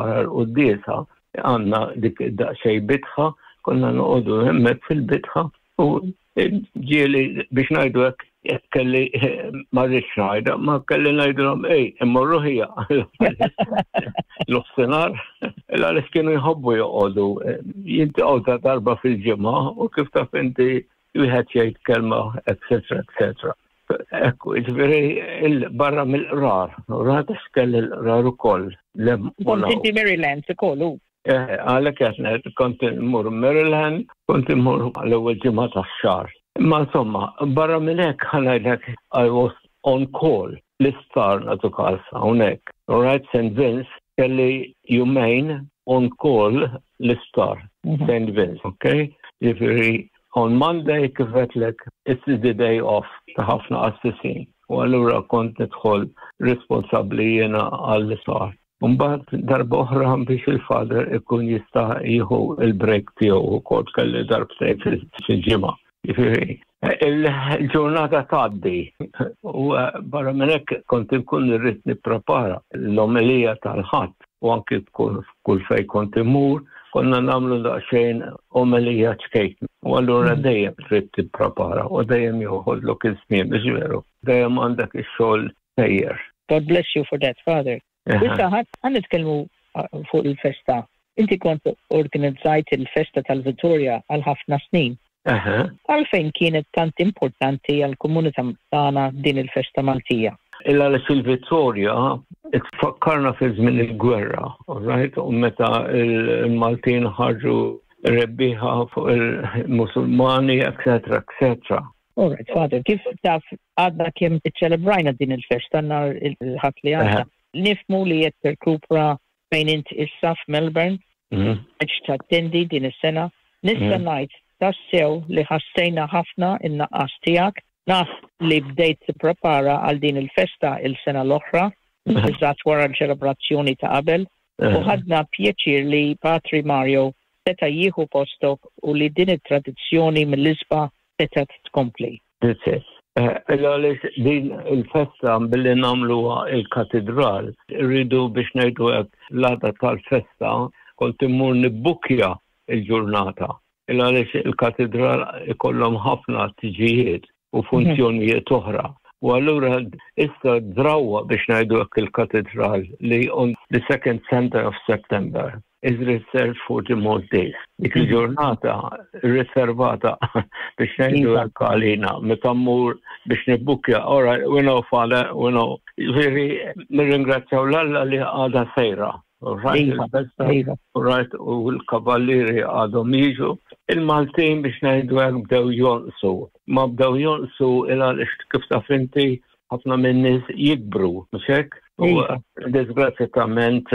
Wara l-quddiesa għandna dik daqsxejn bitħa, konna noqogħdu hemmhekk fil-bitħa u ġieli biex ngħidu hekk kelli ma rridx ngħidha, ma kelli ngħidilhom ej, immorru ħija. L-offsenar, għaliex kienu jħobbu joqogħdu jintaqgħu ta' darba fil-ġimgħa u kif taf inti wieħed jgħid kelma, etc. etc. Ekku, ġifieri barra mill-qrar, rata x'kelli l-qrar ukoll. Kont inti Maryland ukoll u. Eh, għalhekk qed ngħid kont immur Maryland, kont immur l-ewwel ġimgħa tax-xahar. Imma insomma, barra minn hekk ħa ngħidlek I was on call l-isptar nagħtu każ hawnhekk. Right St. Vince kelli jumejn on call l-isptar St. Vince, okay? Ġifieri on Monday kif għedtlek it's the day off ta' ħafna qassisin. U allura kont nidħol responsabbli jiena għall-isptar. Mbagħad darba oħra biex il-father ikun jista' jieħu il-break tiegħu ukoll kelli darbtejn fil-ġimgħa. Ġifieri, il-ġurnata tgħaddi u barra minn hekk kont inkun irrid nipprepara l-omelija tal-Ħadd u anki kull fejn kont immur konna nagħmlu daqsxejn omelija ċkejkna. U allura dejjem trid tipprepara u dejjem joħodlok iż-żmien biex veru. Dejjem għandek ix-xogħol sejjer. God bless you for that, Father. Issa ħa nitkellmu fuq il-festa. Inti kont organizzajt il-festa tal-Vittoria għal ħafna snin. Għalfejn kienet tant importanti għall-komunità tagħna din il-festa Maltija? Illa għaliex il-Vittoria tfakkarna fi żmien il-gwerra, right? U meta il-Maltin ħarġu rebbieħa fuq il-Musulmani, etc. etc. All right, Father, kif taf għadna kemm iċċelebrajna din il-festa nhar il-Ħadd li għadda. Nifhmu li qed tirkupra fejn int issa f'Melbourne, biex tattendi din is-sena. Nista' ngħid tassew li ħassejna ħafna in-naqqas tiegħek. Naf li bdejt tipprepara għal din il-festa il-sena l-oħra, eżatt wara l-ċelebrazzjoni ta' qabel, u ħadna pjaċir li Patri Mario seta' jieħu postok u li din it-tradizzjoni mill-isbaħ setgħet tkompli. That's it. Għaliex din il-festa billi nagħmluha il-katedral, rridu biex ngħidu hekk l-għada tal-festa kont immur nibbukja il-ġurnata. Għaliex il-katedral ikollhom ħafna tiġijiet u funzjonijiet oħra. U allura issa drawa biex ngħidu hekk il-katedral li on the second Sunday of September is reserved for the Maltese. Dik il-ġurnata riservata biex ngħidu hekk għalina, meta mmur biex nibbukja, all right, we know father, we know. Ġifieri nirringrazzjaw l-Alla li għadha sejra. Right, il-festa, right, u l-kavallieri għadhom jiġu. Il-Maltin biex ngħidu hekk bdew jonqsu. Ma bdew jonqsu il għaliex kif taf inti ħafna minn nies jikbru, mhux hekk? U disgrazzjatament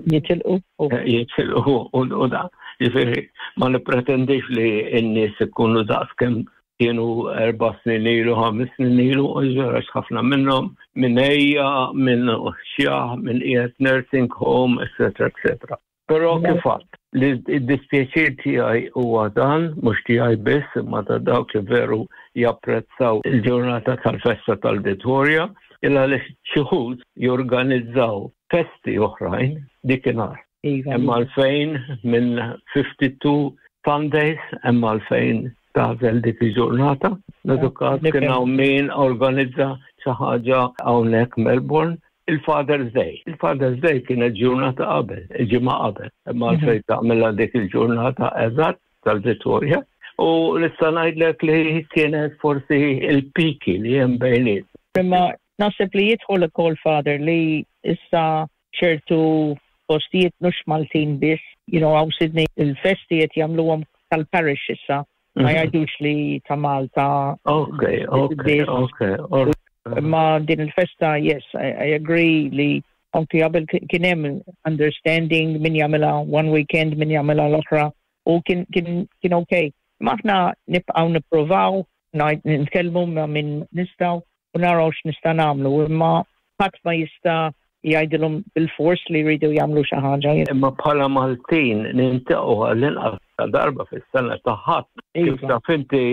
jitilqu. Jitilqu u da. Ġifieri ma nippretendix li n-nies ikunu daqs kemm kienu 4 snin ilu, 5 snin ilu, u ġara ħafna minnhom minn ejja, minn xjaħ, minn qiegħed nursing home, etc. etc. Però kif għedt, li d-dispjaċir tiegħi huwa dan, mhux tiegħi biss, imma ta' dawk li veru japprezzaw il-ġurnata tal-festa tal-Vittoria, illa li xi wħud jorganizzaw festi oħrajn dikinhar. Hemm għalfejn minn 52 Sundays, hemm għalfejn tagħżel dik il-ġurnata. Nagħtu każ kien hawn min organizza xi ħaġa hawnhekk Melbourne, il-Father's Day. Il-Father's Day kienet ġurnata qabel, il-ġimgħa qabel. Imma għalfejn tagħmilha dik il-ġurnata eżatt tal-Vittoria. U nista' ngħidlek li kienet forsi il-piki li hemm bejniet. Imma naħseb li jidħol ukoll Father li issa ċertu postijiet mhux Maltin biss, hawn Sydney il-festi qed jagħmluhom tal-parish issa. Ma jgħidux li ta' Malta. Ma din il-festa, yes, I agree li anki qabel kien hemm understanding min jagħmilha one weekend, min jagħmilha l-oħra u kien kien kien okay. Ma aħna nibqgħu nippruvaw nitkellmu ma' min nistgħu u naraw x'nista' nagħmlu, imma ħadd ma jista' jgħidilhom bil-fors li jridu jagħmlu xi ħaġa. Imma bħala Maltin niltaqgħu għall-inqas ta' darba fis-sena ta' Ħadd. Kif taf inti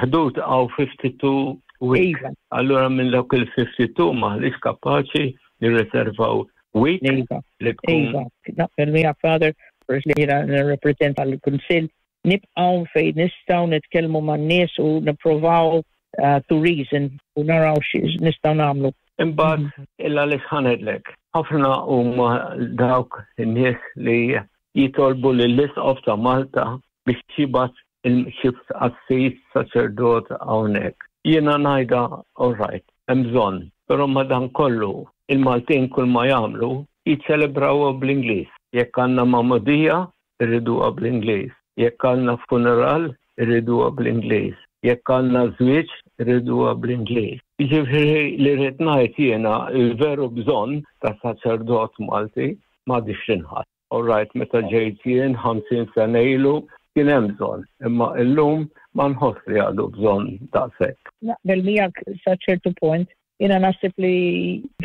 ħdud għaw 52 weeks. Allura minn dawk il-52 m'aħniex kapaċi nirriservaw. week iva. li tkun. Iva, naqbel miegħek Father, peress li jiena nirrepreżenta l-Kunsill, nibqgħu fejn nistgħu nitkellmu man-nies u nipprovaw uh, to reason u naraw x'nistgħu nagħmlu. Imbagħad mhm. illa li x'ħanedlek. Ħafna huma dawk in-nies li jitolbu lill-Isqof ta' Malta biex jibgħat xi qassis saċerdot hawnhekk. Jiena ngħidha all right, hemm bżonn, però madankollu il-Maltin kull ma jagħmlu jiċċelebrawha bl-Ingliż. Jekk għandna magħmudija, irriduha bl-Ingliż. Jekk għandna funeral, irriduha bl-Ingliż. Jekk għandna żwieġ, irriduha bl-Ingliż. Jiġifieri li rrid ngħid jiena l-veru bżonn ta' saċerdot Malti m'għadix tinħass. All right, meta ġejt jien 50 sena ilu kien hemm bżonn, imma illum ma nħoss li għadu bżonn daqshekk. Naqbel miegħek sa ċertu punt. Jiena naħseb li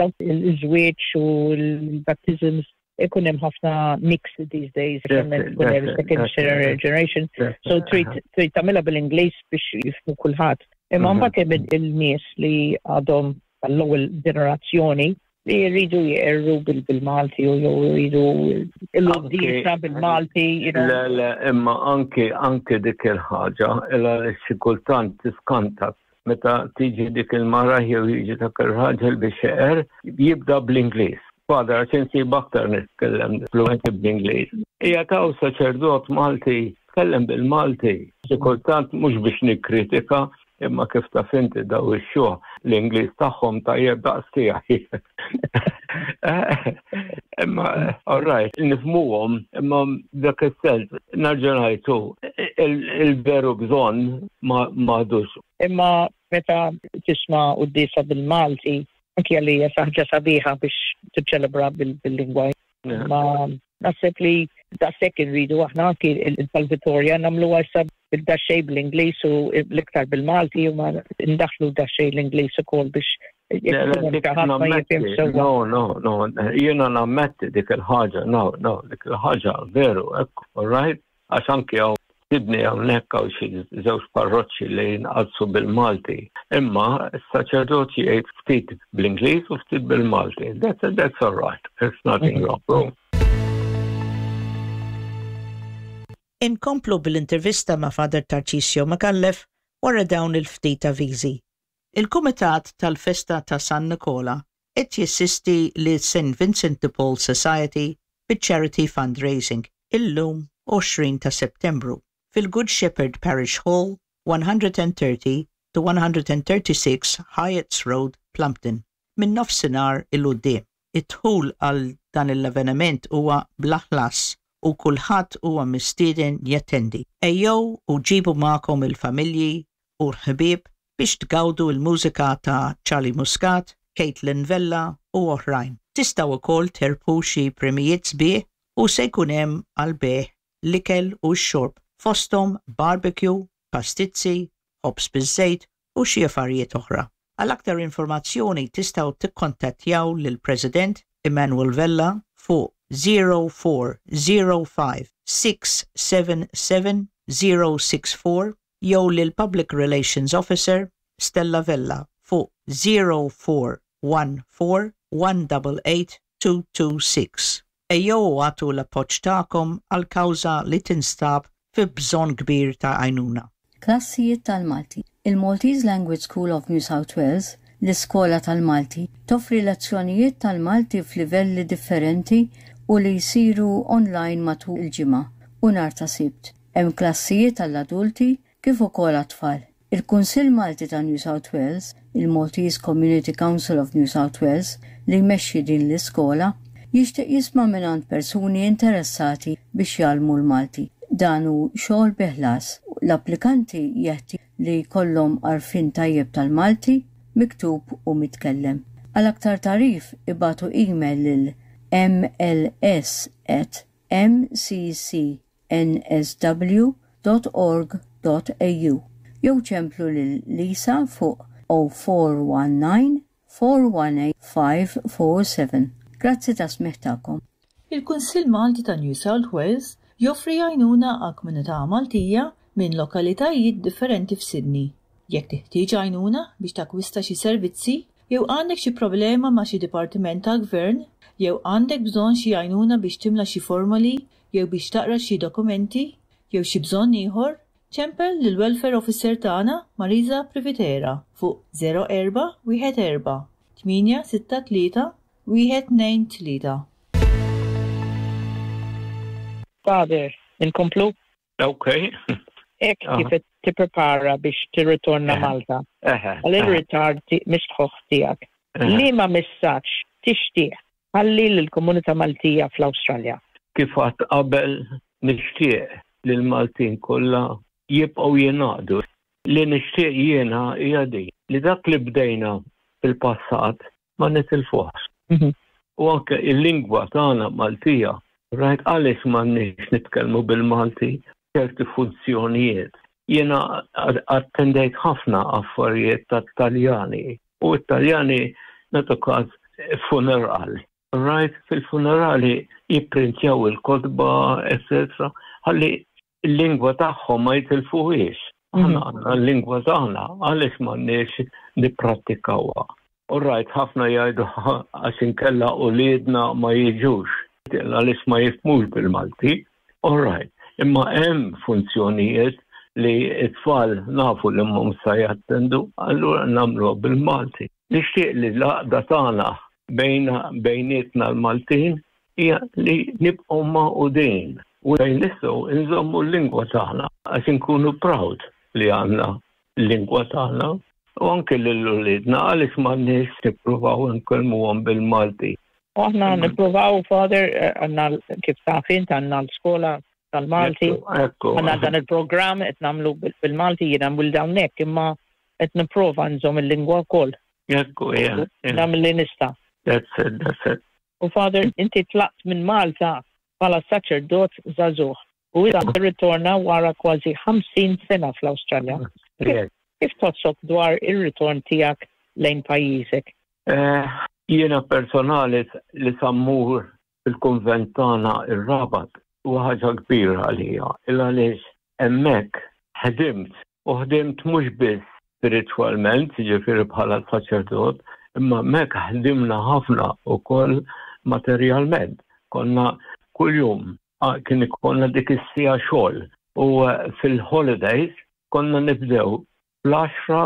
dawk il-żwieġ u l-baptisms ikun hemm ħafna mix these days, ikun hemm second generation. So trid trid tagħmilha bil-Ingliż biex jifhmu kulħadd. Imma mhm. mbagħad hemm il-nies li għadhom tal-ewwel ġenerazzjoni li jridu jqerru bil-Malti u jew jridu l-quddiesa bil-Malti. Le, le, imma anki anki dik il-ħaġa, illa xi kultant tiskanta meta tiġi dik il-mara jew jiġi dak ir-raġel biex jeqer, jibda bl-Ingliż. Father, għax insib aktar nitkellem fluenti bl-Ingliż. Hija taw saċerdot Malti tkellem bil-Malti. Xi kultant mhux biex nikkritika, Imma kif taf inti daw ix-xjuħ l-Ingliż tagħhom tajjeb daqs tiegħi. Imma all right, nifhmuhom, imma dak is-sens nerġa' ngħidu il-veru bżonn m'għadux. Imma meta tisma' quddiesa bil-Malti, anki għalija ħaġa sabiħa biex tiċċelebra bil-lingwa. Ma naħseb li daqshekk irridu aħna anki il-Tal-Vitorja nagħmluha issa bil-daxxej bl-Ingliż u l-iktar bil-Malti u ma ndaħlu daxxej l-Ingliż ukoll biex No, no, no, jiena nammetti dik il-ħaġa, no, no, dik il-ħaġa veru, ekku, all right? Għax anki hawn Sydney hawnhekk hawn xi żewġ parroċċi li jinqadsu bil-Malti. Imma s-saċerdot jgħid ftit bl-Ingliż u ftit bil-Malti. That's, that's all right. There's nothing mhm. wrong. Inkomplu bil-intervista ma' Father Tarcisio Micallef wara dawn il-ftit avviżi. Il-Kumitat tal-Festa ta' San Nikola qed jassisti lis-St Vincent de Paul Society biċ-charity fundraising illum 20 ta' Settembru fil-Good Shepherd Parish Hall, 130 to 136 Hyatts Road, Plumpton, minn nofsinhar 'il quddiem. Id-dħul għal dan l-avveniment huwa bla ħlas u kulħadd huwa mistieden jattendi. Ejjew u ġibu magħkom il-familji u l-ħbieb biex tgawdu l-mużika ta' Charlie Muscat, Caitlin Vella u oħrajn. Tistgħu wkoll terbħu xi premijiet sbieħ u se jkun hemm għall-bejgħ l-ikel u x-xorb fosthom barbecue, pastizzi, ħobż biż-żejt u xi affarijiet oħra. Għal aktar informazzjoni tistgħu tikkontattjaw lill-President Emmanuel Vella fuq 0405 677 064 jew lill-Public Relations Officer Stella Vella fuq 0414 188 226. Ejjew u agħtu l-appoġġ tagħkom għal kawża li tinstab fi bżonn kbir ta' għajnuna. Klassijiet tal-Malti. Il-Maltese Language School of New South Wales, l-Iskola tal-Malti, toffri lezzjonijiet tal-Malti f'livelli differenti u li jsiru online matul il-ġimgħa u nhar ta' Sibt. Hemm klassijiet għall-adulti kif ukoll għat-tfal. Il-Kunsill Malti ta' New South Wales, il-Maltese Community Council of New South Wales, li jmexxi din l-iskola, jixtieq jisma' mingħand persuni interessati biex jgħallmu l-Malti. Dan hu xogħol bi ħlas. L-applikanti jeħtieġ li jkollhom għarfien tajjeb tal-Malti, miktub u mitkellem. Għal aktar tagħrif ibagħtu email lil mls at mcc nsw dot org dot au jew ċemplu lil Lisa fuq 0419 418 547. Grazzi tas-smigħ tagħkom. Il-Kunsill Malti ta' New South Wales joffri għajnuna għall-komunità Maltija minn lokalitajiet differenti f'Sydney. Jekk teħtieġ għajnuna biex takkwista xi servizzi, Jew għandek xi problema ma' xi dipartiment tal-gvern, jew għandek bżonn xi għajnuna biex timla xi formoli jew biex taqra xi dokumenti, jew xi bżonn ieħor, ċempel lill-Welfare Officer tagħna Marisa Privitera fuq 0414 863 123. Father, inkomplu? Ok. Hekk kif qed tipprepara biex tirritorna Malta għal ir-ritard mistħoħ tiegħek. Liema messaġġ tixtieq tħalli lill-komunità Maltija fl-Awstralja? Kif għedt qabel nixtieq li l-Maltin kollha jibqgħu jingħaqdu. Li nixtieq jiena hija din, li dak li bdejna fil-passat ma nitilfuhx. U anke il-lingwa tagħna Maltija, rajt għaliex m'għandniex nitkellmu bil-Malti ċerti funzjonijiet. Jiena attendejt ħafna affarijiet tat-Taljani u t-Taljani nagħtu każ funeral. Rajt fil-funerali jipprintjaw il-kotba, etc. Ħalli il-lingwa tagħhom ma jitilfuhiex. Aħna għandna l-lingwa tagħna, għaliex m'għandniex nipprattikawha. U rajt ħafna jgħidu għax inkella uliedna ma jiġux, għaliex ma jifhmux bil-Malti. All right, imma hemm funzjonijiet li t-tfal nafu li mhum sa jattendu, allura nagħmluha bil-Malti. Nixtieq li l-għaqda tagħna bejnietna l-Maltin hija li nibqgħu magħqudin u fejn nistgħu nżommu l-lingwa tagħna għax inkunu proud li għandna l-lingwa tagħna u anke lil uliedna għaliex m'għandniex nippruvaw nkellmuhom bil-Malti. U aħna nippruvaw, Father, għandna kif taf int għandna l-skola tal-Malti. Għandna dan il-programm qed nagħmlu bil-Malti jiena mwilda hawnhekk imma qed nipprova nżomm il-lingwa wkoll. Ekku, yeah. Nagħmel li nista'. That's it, that's it. U Father, inti tlaqt minn Malta bħala saċerdot żagħżugħ u issa tirritorna wara kważi 50 sena fl-Awstralja. Kif tħossok dwar ir-ritorn tiegħek lejn pajjiżek? Eh, jiena personali li sa mmur fil-kunvent tagħna ir-Rabat huwa ħaġa kbira għalija, il għaliex hemmhekk ħdimt u ħdimt mhux biss spiritwalment, jiġifieri bħala saċerdot, imma hemmhekk ħdimna ħafna wkoll materjalment. Konna kuljum kien ikollna dik is-siegħa xogħol u eh, fil-holidays konna nibdew fl-għaxra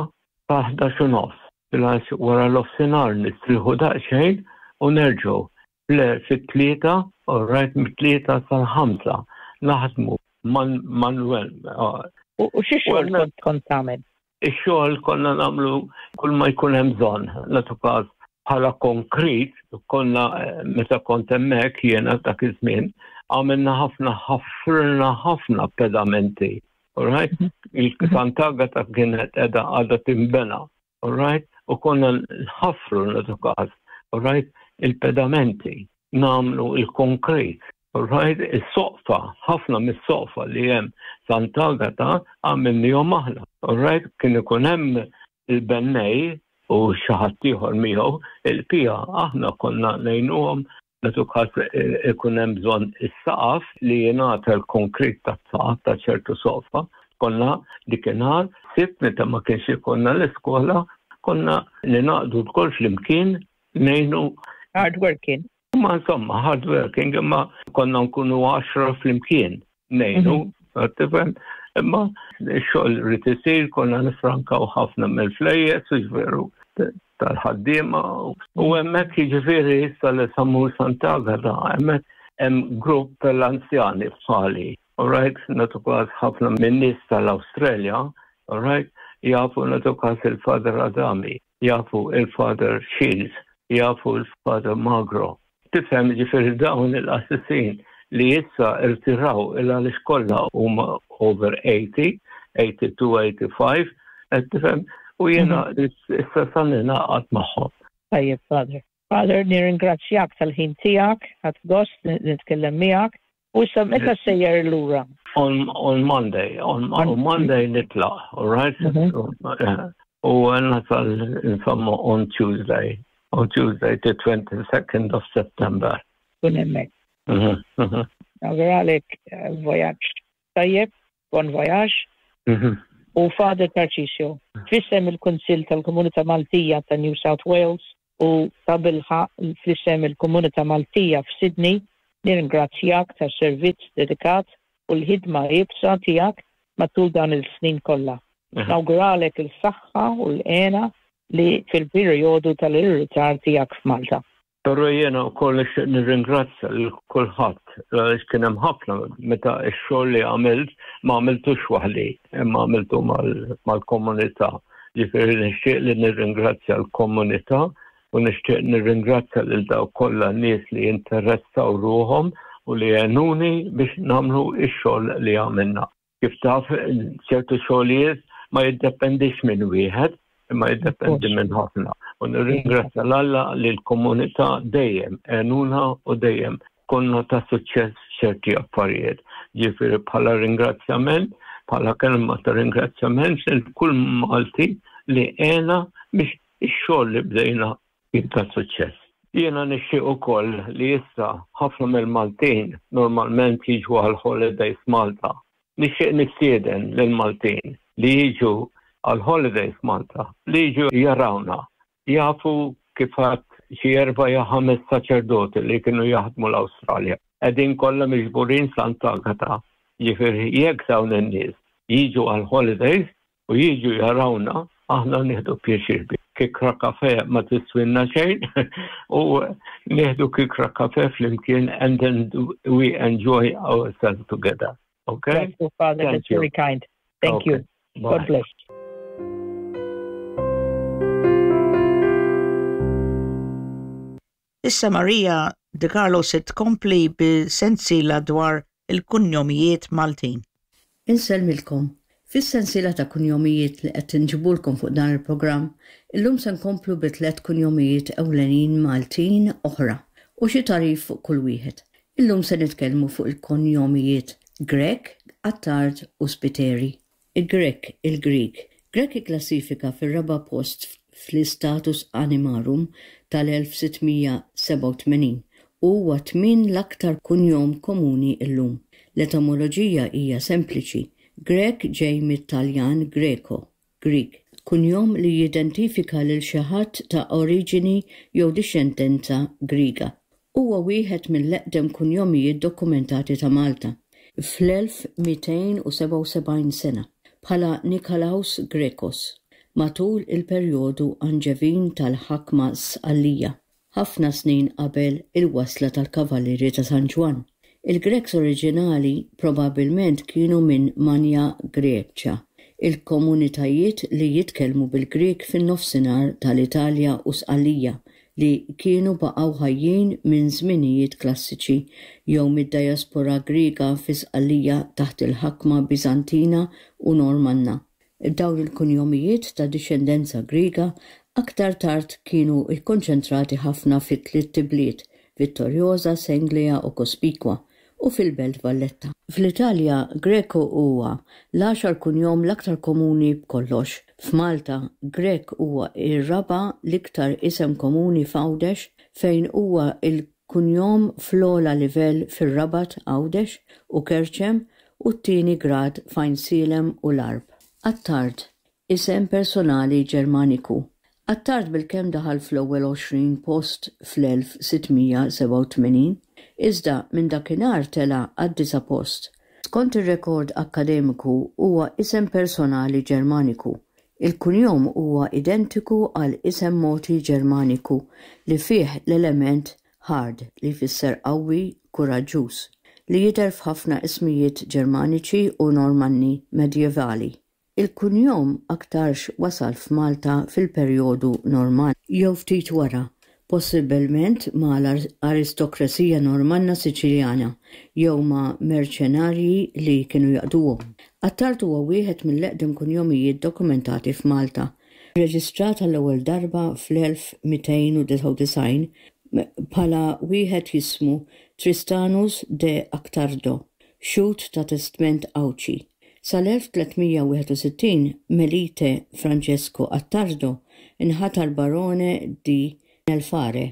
sa 11 u nofs. Fil-għax wara l-offsinar nistrieħu daqsxejn u nerġgħu fit-tlieta, all right, mit-tlieta sal-ħamsa naħdmu manuel. U xi xogħol kont kont tagħmel? Ix-xogħol konna nagħmlu kull ma jkun hemm bżonn, nagħtu każ bħala konkrit, konna eh, meta kont hemmhekk jiena dak iż-żmien, għamilna ħafna ħafrna ħafna pedamenti. All right? Mhm. Il-Sant'Agata kienet edha għadha timbena. All right? U konna nħaffru nagħtu każ. All right? Il-pedamenti, namlu il-konkrit. All right? Is-soqfa, ħafna mis-soqfa li hemm Sant'Agata għamilnihom aħna. All right? Kien ikun hemm il-bennej u xi ħadd ieħor miegħu, il-pija aħna konna ngħinuhom Nagħtu każ ikun hemm bżonn is-saqaf li jingħata l-konkrit tas-saqaf ta' ċertu soqfa. Konna dikinhar sibt meta ma kienx ikollna l-iskola, konna ningħaqdu lkoll flimkien ngħinu. Hard working. Ma insomma, hard working, imma konna nkunu għaxra flimkien ngħinu, mhm. tifhem? Imma x-xogħol rrid isir, konna nifrankaw ħafna mill-flejjes, veru tal-ħaddiema u hemmhekk jiġifieri issa li samur Sant'Agata hemmhekk hemm grupp tal-anzjani bħali. Alright, nagħtu każ ħafna min-nies tal-Awstralja, alright, jafu nagħtu każ il-Father Adami, jafu il-Father Shields, jafu il-Father Magro. Tifhem ġifieri dawn il-qassisin li issa irtiraw il għaliex kollha huma over 80, 82, 85, qed tifhem, u jiena mhm. issa sa ningħaqad magħhom. Tajjeb, Father. Father, nirringrazzjak tal-ħin tiegħek, ħadt gost nitkellem miegħek. U issa meta sejjer lura? On, on Monday, on, on Monday nitlaq, all right? Mhm. U nasal insomma on Tuesday, on Tuesday the 22nd of September. Kun hemmhekk. Mhm, mhm. Nawguralek eh, vojaġġ tajjeb, bon vojaġġ. U Father Tarcisio, f'isem il-Kunsill tal-Komunità Maltija ta' New South Wales u tabilħaqq fl-isem il-Komunità Maltija f'Sydney, nirringrazzjak tas-servizz dedikat u l-ħidma iebsa tiegħek matul dawn il-snin kollha. Nawguralek il-saħħa u l-hena li fil-perjodu tal-irritar tiegħek f'Malta. Però jiena wkoll nixtieq nirringrazzja lil kulħadd għaliex kien hemm ħafna meta x-xogħol li għamilt ma għamiltux waħdi, imma għamiltu mal-komunità. Ġifieri nixtieq li nirringrazzja l-komunità u nixtieq nirringrazzja lil dawk kollha nies li interessaw ruħhom u li għenuni biex nagħmlu x-xogħol li għamilna. Kif taf, ċertu xogħlijiet ma jiddependix minn wieħed, imma jiddependi minn ħafna. U nirringrazzja l-Alla li l-komunità dejjem għenuna u dejjem konna ta' suċċess ċerti affarijiet. Ġifieri bħala ringrazzjament, bħala kelma ta' ringrazzjament lil kull Malti li għena biex ix-xogħol li bdejna kien ta' suċċess. Jiena nixtieq ukoll li issa ħafna mill-Maltin normalment jiġu għal holidays Malta. Nixtieq nistieden lill-Maltin li jiġu għal holidays Malta, li jiġu jarawna, jafu kif għad xi erba' jew ħames saċerdoti li kienu jaħdmu l-Awstralja. Qegħdin kollha miġburin Sant'Agata. Ġifieri jekk dawn in-nies jiġu għal holidays u jiġu jarawna, aħna nieħdu pjaċir bi. Kikra kafe ma tiswinna xejn u nieħdu kikra kafe flimkien and then we enjoy ourselves together. Okay? Thank you, Father. Thank That's you. very kind. Thank okay. you. Bye. God bless. Issa Maria De Carlo se tkompli bi sensiela dwar il-kunjomijiet Maltin. Insellmilkom. Fis-sensiela ta' kunjomijiet li qed inġibulkom fuq dan il-programm, illum se nkomplu bi tlett kunjomijiet ewlenin Maltin oħra u xi tagħrif fuq kull wieħed. Illum se nitkellmu fuq il-konjomijiet Grech, Attard u Spiteri. Grech, il-Grieg. Grech ikklassifika fir-raba' post fl-Istatus Animarum tal-1687 u huwa t-tmien l-aktar kunjom komuni llum. L-etimoloġija hija sempliċi, Grech ġej mit-Taljan greco, Grieg, kunjom li jidentifika lil xi ħadd ta' oriġini jew dixxendenza Griega. Huwa wieħed mill-eqdem kunjomijiet dokumentati ta' Malta, fl-1277 sena, bħala Nikolaos Grekos, matul il-perjodu Anġevin tal-ħakma Sqallija, ħafna snin qabel il-wasla tal-Kavallieri ta' San Ġwann. Il-Greks oriġinali probabbilment kienu minn Magna Graecia, il-komunitajiet li jitkellmu bil-Grieg fin-Nofsinhar tal-Italja u Sqallija, li kienu baqgħu ħajjin minn żminijiet klassiċi jew mid-diaspora Griega fi Sqallija taħt il-ħakma Biżantina u Normanna. Dawn il-kunjomijiet ta' dixxendenza Griega aktar tard kienu kkonċentrati ħafna fit-tlitt ibliet, Vittoriosa, Senglea u Cospicua, u fil-Belt Valletta. Fl-Italja, Greco huwa l-għaxar kunjom l-aktar komuni b'kollox. F'Malta, Grech huwa r-raba' l-iktar isem komuni f'Għawdex fejn huwa l-kunjom fl-ogħla livell fir-Rabat, Għawdex, u Kerċem u t-tieni grad f'Għajnsielem u l-Għarb. Attard, Isem personali Ġermaniku. Attard bilkemm daħal fl-ewwel 20 post fl-1687, iżda minn dakinhar tela' għad-disa' post. Skont ir-rekord akkademiku huwa isem personali Ġermaniku. Il-kunjom huwa identiku għal isem mogħti Ġermaniku li fih l-element hard li jfisser qawwi, kuraġġuż, li jidher f'ħafna ismijiet Ġermaniċi u Normanni medjevali. Il-kunjom aktarx wasal f'Malta fil-perjodu Normann, jew ftit wara, possibbilment ma' l-aristokrazija Normanna Siċiljana jew ma' merċenarji li kienu jaqduhom. Attard huwa wieħed mill-eqdem kunjomijiet dokumentati f'Malta, rreġistrat għall-ewwel darba fl-1299 bħala wieħed jismu Tristanus de Actardo, xhud ta' testment Għawdxi. Sal-1361 Melite Francesco Attardo nħatar Barone di Nelfare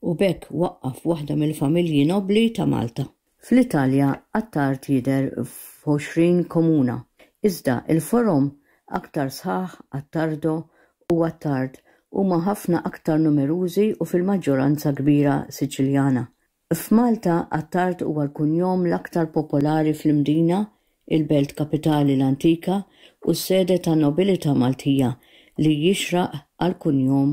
u b'hekk waqqaf waħda mill-familji nobbli ta' Malta. Fl-Italja Attard jidher f'għoxrin komuna, iżda l-forom. Aktar sħaħ, Attardo u Attard huma ħafna aktar numerużi u fil-maġġoranza kbira Siċiljana. F'Malta, Attard huwa l-kunjom l-aktar popolari fl-Imdina, il-belt kapitali l-antika u s-sede tan-nobilità Maltija li jixraq għall-kunjom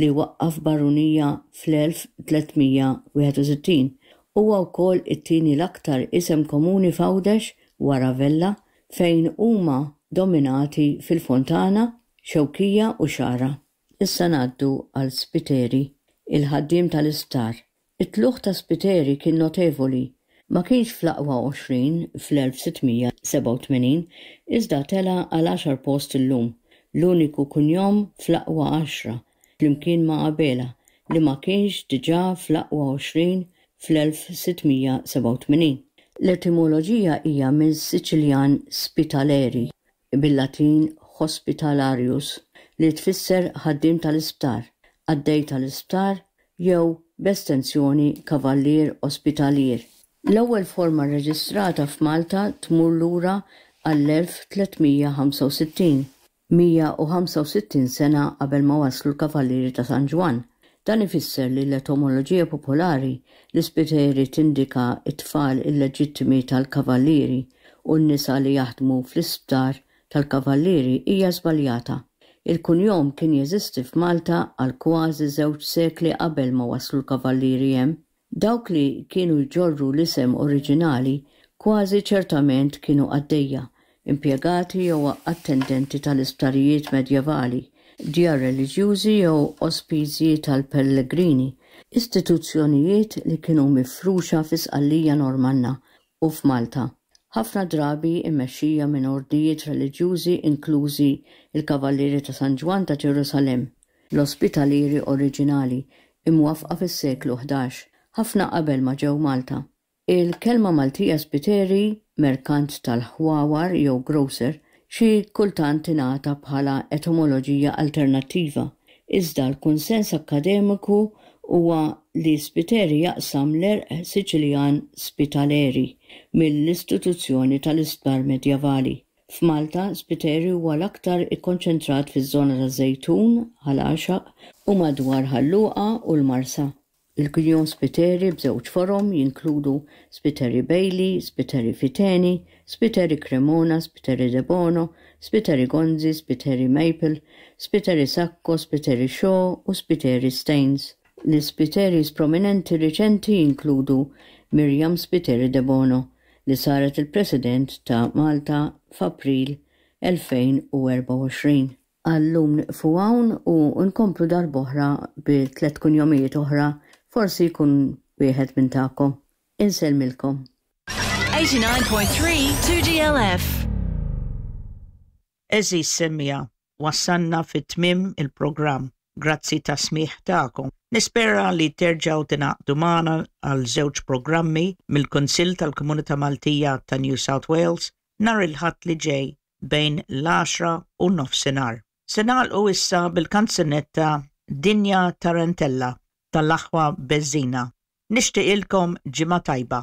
li waqqaf barunija fl-1361. Huwa wkoll it-tieni l-aktar isem komuni f'Għawdex wara Vella, fejn huma dominati fil-Fontana, Xewkija u Xagħra. Issa ngħaddu għal Spiteri, il-ħaddiem tal-isptar. It-tlugħ ta' Spiteri kien notevoli. Ma kienx fl-aqwa 20 fl-1687, iżda tela' għal għaxar post illum, l-uniku kunjom fl-aqwa għaxra, flimkien ma' Abela, li ma kienx diġà fl-aqwa 20 fl-1687. L-etimoloġija hija mis-Siċiljan spitaleri, bil-Latin hospitalarius, li tfisser ħaddiem tal-isptar, qaddej tal-isptar jew, b'estensjoni, kavallier ospitalier. L-ewwel forma rreġistrata f'Malta tmur lura għall-1365, 165 sena qabel ma waslu l-Kavallieri ta' San Ġwann. Dan ifisser li l-etomoloġija popolari li Spiteri tindika t-tfal illeġittimi tal-Kavallieri u n-nisa li jaħdmu fl-isptar tal-Kavallieri hija żbaljata. Il-kunjom kien jeżisti f'Malta għal kważi żewġ sekli qabel ma waslu l-Kavallieri hemm. Dawk li kienu jġorru l-isem oriġinali kważi ċertament kienu qaddejja, impjegati jew attendenti tal-isptarijiet medjevali, djar reliġjużi jew ospizji tal-pellegrini, istituzzjonijiet li kienu mifruxa fi Sqallija Normanna u f'Malta, ħafna drabi mmexxija minn ordnijiet reliġjużi inklużi l-Kavallieri ta' San Ġwann ta' Ġerusalemm, l-Ospitalieri oriġinali, imwaffqa fis-seklu 11, ħafna qabel ma ġew Malta. Il-kelma Maltija spiteri, merkant tal-ħwawar jew grocer, xi kultant tingħata bħala etimoloġija alternattiva, iżda l-kunsens akkademiku huwa li spiteri jaqsam l-għerq Siċiljan spitaleri mill-istituzzjoni tal-isptar medjevali. F'Malta, Spiteri huwa l-aktar ikkonċentrat fiż-żona taż-Żejtun, Ħal Għaxaq u madwar Ħal Luqa u l-Marsa. Il-kunjom Spiteri b'żewġ forom jinkludu Spiteri Bailey, Spiteri Fiteni, Spiteri Cremona, Spiteri Debono, Spiteri Gonzi, Spiteri Maple, Spiteri Sacco, Spiteri Shaw u Spiteri Staines. L-Ispiteris prominenti riċenti jinkludu Myriam Spiteri Debono, li saret il-President ta' Malta f'April 2024. Għal-lum nieqfu hawn u nkomplu darb'oħra bi tlett kunjomijiet oħra, forsi jkun wieħed minn tagħkom. Insellmilkom. 89.3 2GLF. Għeżież semmiegħa, wassalna fi tmiem il-programm. Grazzi tas-smigħ tagħkom. Nispera li terġgħu tingħaqdu magħna għal żewġ programmi mill-Kunsill tal-Komunità Maltija ta' New South Wales nhar il-Ħadd li ġej bejn l-għaxra u nofsinhar. Se nagħlqu issa bil-kanzunetta Dinja Tarantella tal-Aħwa Bezzina. Nixtieqilkom ġimgħa tajba.